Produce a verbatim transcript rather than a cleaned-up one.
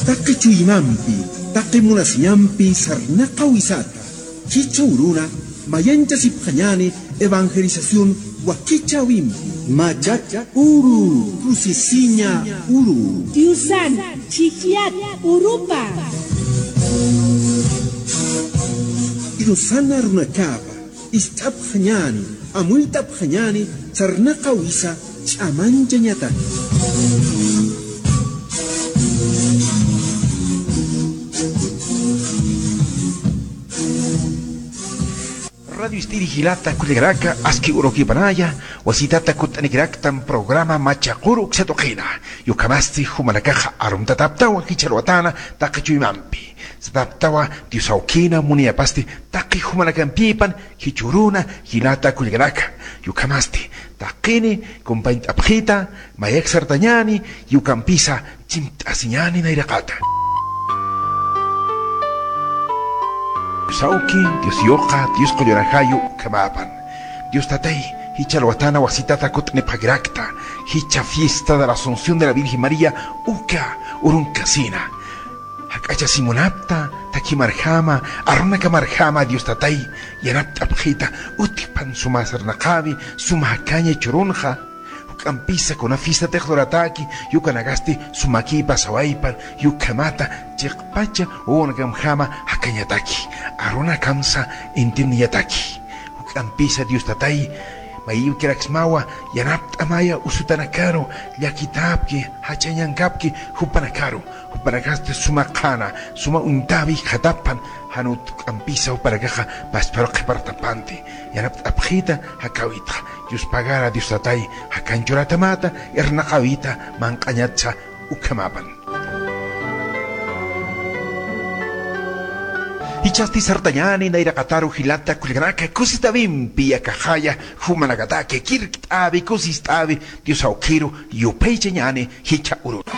Taqi chuymampi, taqi munasiñampi sarnaqawisata, jichha uruna, mayanchasipxañäni evangelización wakichäwimpi. Machaq uru, crucisiña uru. Diosan, chhijllat urupa. Diosan arunakapa, ist'apxañäni, amuyt'apxañäni, sarnaqawisa ch'amanchañataki. Radio Ist'iri jilata kullakanaka, aski urukipanaya, wasitata kutt'anikiraktan programa Machaq uru uksa tuqina. Ukhamasti jumanakaxa arumtataptawa jichha alwatana taqi chuymampi. Sataptawa Dios awkina muniyapasti taqi jumanakampipan jichha uruna jilata kullakanaka. Ukhamasti taqini kumpañt'apxita, mayak sartañäni, ukampisa chimt'asiñäni nayraqata. Dios awki, Dios yuqa, Dios qullarajayu ukhamapan. Dios tatay, jichha alwatana wasitata kutt'anipxakirakta, jichha fiesta de la Asunción de la Virgen María uka urunkasina. Jak'achasimunapta, thakimarjama, arunakamarjama Dios tatay, yanapt'apxita, utjpan suma sarnaqawi, suma jakaña churunxa. Juk'ampisa kuna fiesta tixlurataki, ukanakasti sumakipa sawaypan, ukhamata chiqpacha wawankamjama jakañataki, arunakamsa entiendiñataki. Juk'ampisa Dios tatay, mayïwkiraksmawa, yanapt'amaya usutanakaru, llakitapki, jachañankapki, jupanakaru, jupanakasti suma qhana, suma uñtäwi jikxatapan, jan utk'ampisa jupanakaxa pasparu qhipartapanti, yanapt'apxita, jakäwitxa, yuspagara Dios tatay, jakanchuratamata, irnaqäwita, manq'añatsa, ukhamapan. Jichhasti sartañäni nayraqataru jilata kullakanaka, kusitäwimpi akaxaya, jumanakataki, kirkt'äwi, kusist'äwi, Dios awkiru, yupaychañäni, jichha uruna.